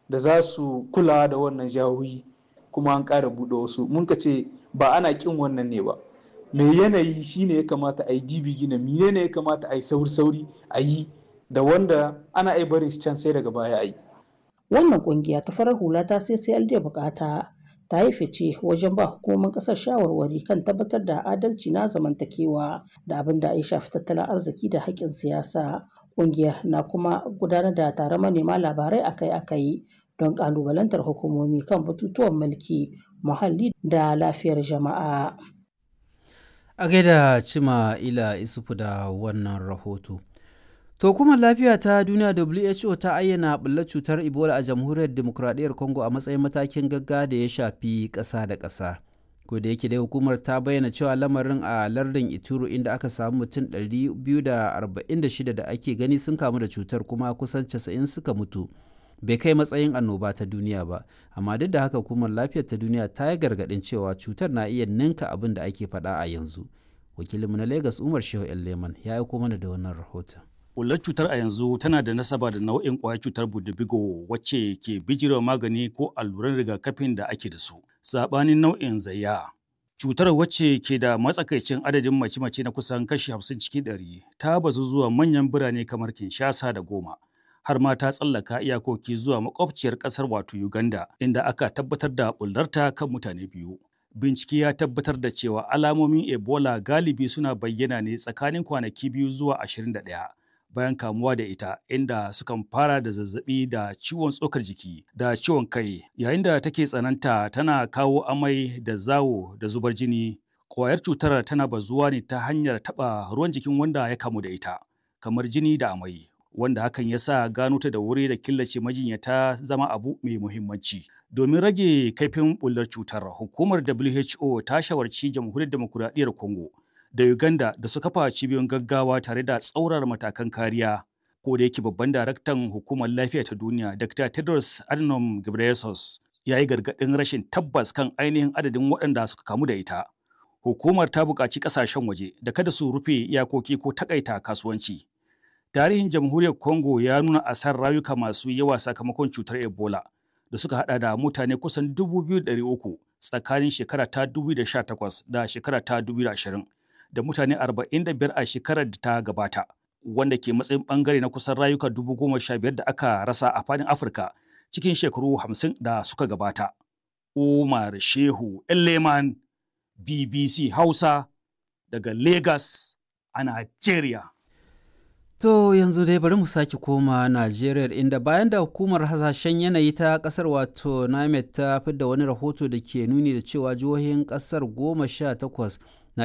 da za su kula da wannan jihohi, kuma an ƙara buɗe wasu. Mun ka ce ba ana ƙin wannan ne ba. Mai yanayi shine ya kamata a yi dibi gina mine ne ya kamata a yi sauri-sauri a yi da wanda ana iya barin shi can sai daga baya a yi. Wannan kungiya ta farar hula ta CCLD bukata ta yi fice wajen ba hukumomin kasar shawarwari kan tabbatar da adalci na zamantakewa da abin da ya shafi tattalin arziki da haƙƙin siyasa. Kungiyar na kuma gudanar da taron manema labarai akai-akai don ƙalubalantar hukumomi kan batutuwan mulki, muhalli da lafiyar jama'a. A gaida Cima Ila Isufu da wannan rahoto. To hukumar lafiya ta duniya WHO ta ayyana ɓullar cutar Ebola a jamhuriyar demokuraɗiyyar Congo a matsayin matakin gaggawa da ya shafi ƙasa da ƙasa. Ko da yake dai hukumar ta bayyana cewa lamarin a lardin Ituro inda aka samu mutum 246 da ake gani sun kamu da cutar kuma kusan 90 suka mutu. Bai kai matsayin annoba ta duniya ba, amma duk da haka hukumar lafiyar ta duniya ta yi gargaɗin cewa cutar na iya ninka abin da ake faɗa a yanzu. Wakilinmu na Lagos Umar Shehu Leman ya aiko mana da wannan rahoton. Bullar cutar a yanzu tana da nasaba da nau'in ƙwayar cutar budubigo wacce ke bijirewa magani ko alluran rigakafin da ake da su. Saɓanin nau'in zayya. Cutar wacce ke da matsakaicin adadin mace-mace na kusan kashi 50 cikin 100 ta bazu zuwa manyan birane kamar Kinshasa da Goma. Har ma ta tsallaka iyakoki zuwa makwabciyar ƙasar wato Uganda inda aka tabbatar da bullarta kan mutane biyu. Bincike ya tabbatar da cewa alamomin Ebola galibi suna bayyana ne tsakanin kwanaki 2 zuwa 21. Bayan kamuwa da ita, inda sukan fara da zazzabi da ciwon tsokar jiki da ciwon kai, yayin da take tsananta tana kawo amai da zawo da zubar jini. Kwayar cutar tana bazuwa ne ta hanyar taɓa ruwan jikin wanda ya kamu da ita, kamar jini da amai, wanda hakan ya sa gano ta da wuri da killace majinyata zama abu mai muhimmanci. Domin rage kaifin bullar cutar, hukumar WHO ta shawarci Jamhuriyar Demokuraɗiyyar Congo da Uganda da su kafa cibiyoyin gaggawa tare da tsaurar matakan kariya. Ko da yake babban daraktan hukumar lafiya ta duniya, Dr. Tedros Adhanom Ghebreyesus, ya yi gargaɗin rashin tabbas kan ainihin adadin waɗanda suka kamu da ita. Hukumar ta buƙaci ƙasashen waje da kada su rufe iyakoki ko takaita kasuwanci. Tarihin Jamhuriyar Congo ya nuna asar rayuka masu yawa sakamakon cutar Ebola da suka hada da mutane kusan 2,300 tsakanin shekara ta 2018 da shekara ta 2020. Da mutane 45 a shekarar da ta gabata, wanda ke matsayin bangare na kusan rayuka 15,000 da aka rasa a fadin Afirka cikin shekaru 50 da suka gabata. Umar Shehu Leman, BBC Hausa, daga Lagos a Nigeria. To yanzu dai bari mu sake koma Najeriya, inda bayan da hukumar hasashen yanayi ta kasar wato NIMET ta fidda wani rahoto da ke nuni da cewa jihohin kasar 18